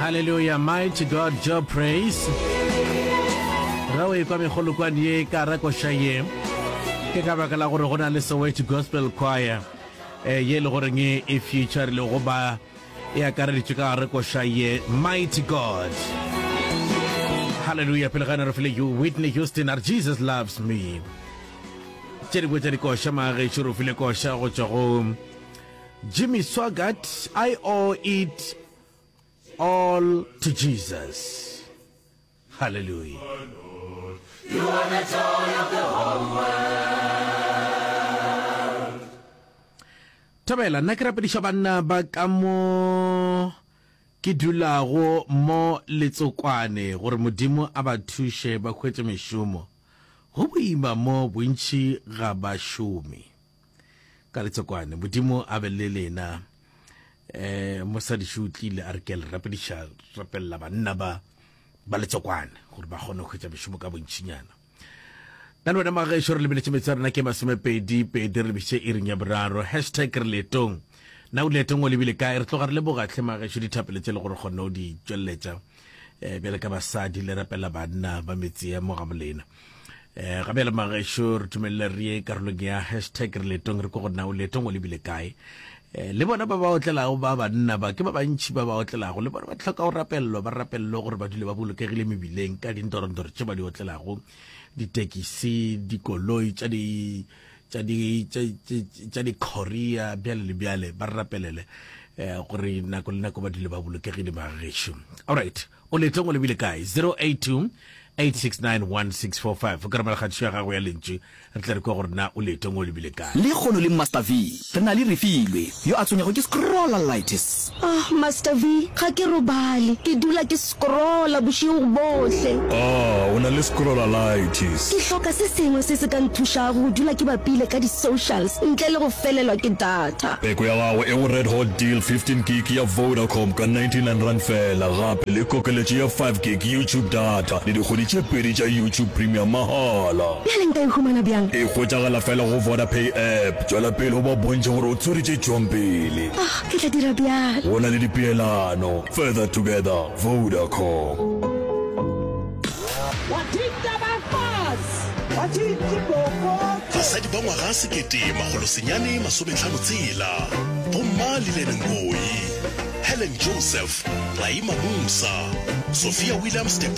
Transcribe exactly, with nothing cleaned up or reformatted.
Hallelujah, mighty God, Job praise. Ge o ekwa megolokwane ye ka rakoša ye, ke ka baka la gore go na le Soweto Gospel Choir eh, ye e le goreng e e featurile goba e akareditšwe ka gare koša ye Mighty God. Hallelujah, pele ga re file you Whitney Houston a re Jesus loves me. Tše dingwe tša dikoša magešo re file koša go tšwa go Jimmy Swaggart, I owe it all to Jesus. Hallelujah. You are the joy of the whole world. Thobela, nna ke rapediša banna ba ka mo ke dulago mo Letsokwane gore Modimo a ba thuše ba hwetše mešomo. Go boima mo bontši ga ba šome. Ka Letsokwane, Modimo a be le lena. Eh, mosadi šo o tlile a re ke a le rapediša, rapelela banna ba ba Letsokwane gore ba kgone go hwetša mešomo ka bontšinyana. Nna le wena magešo re lebeletše metsi a rena ke masomepedi pedi re lebišitše iring ya boraro. Hashtag re leetong. Na o leetong o lebile kae? Re tloga re leboga hle magešo dithapelo tše le gore kgonne o di tšweletša eh, bjale ka basadi le rapela banna ba metse ya mo ga bolena. Eh, ga bjale magešo re dumelele re ye karolong ya hashtag re leetong re ko gore na o leetong o lebile kae. Eh, le bona ba ba otlelago ba banna ba ke ba bantši ba ba otlelago le bona ba tlhoka go rapellwa ba rapellwe gore ba dule ba bolokegile mebileng ka dintorondoro tše ba di otlelago ditekisi dikoloi tša di tša di tša di-courier bjale le bjale ba re rapelele eh, gore nako le nako ba dule ba bolokegile magešo alright o leetong o lebile kae zero eight two eight six nine one six four five o ka romela kgatišo ya gago ya lentšu re tle re kwe gore na o leetong o lebile kae. Lekgono le Master V re na le Refilwe yo a tshwenyago ke scrollalitis. Ah, Master V, ga ke robale, ke dula ke scrolla bošego bohle. Ah, o na le scrollalitis. Ke hloka se sengwe se se ka nthušago go dula ke bapile ka di-socials ntle le go felelwa ke data. Peko ya gago e go Red Hot Deal fifteen gig ya Vodacom ka ninety nine rand fela, gape le kokeletšo ya five gig YouTube data le dikgwedi tše pedi tša YouTube Premium mahala. Bjale nka e humana bjang? E hwetšagala fela go Vodapay app. Tšwela pele o ba bontšhe gore o tswere tše tšwang pele. Ah, ke tla dira bjalo. Go na le dipeelano. Further together, Vodacom. Basadi ba ngwaga sekete makgolo senyane masometlhano tshela, Bomma Lillian Ngoyi, Helen Joseph, Raima Moosa, Sophia Williams de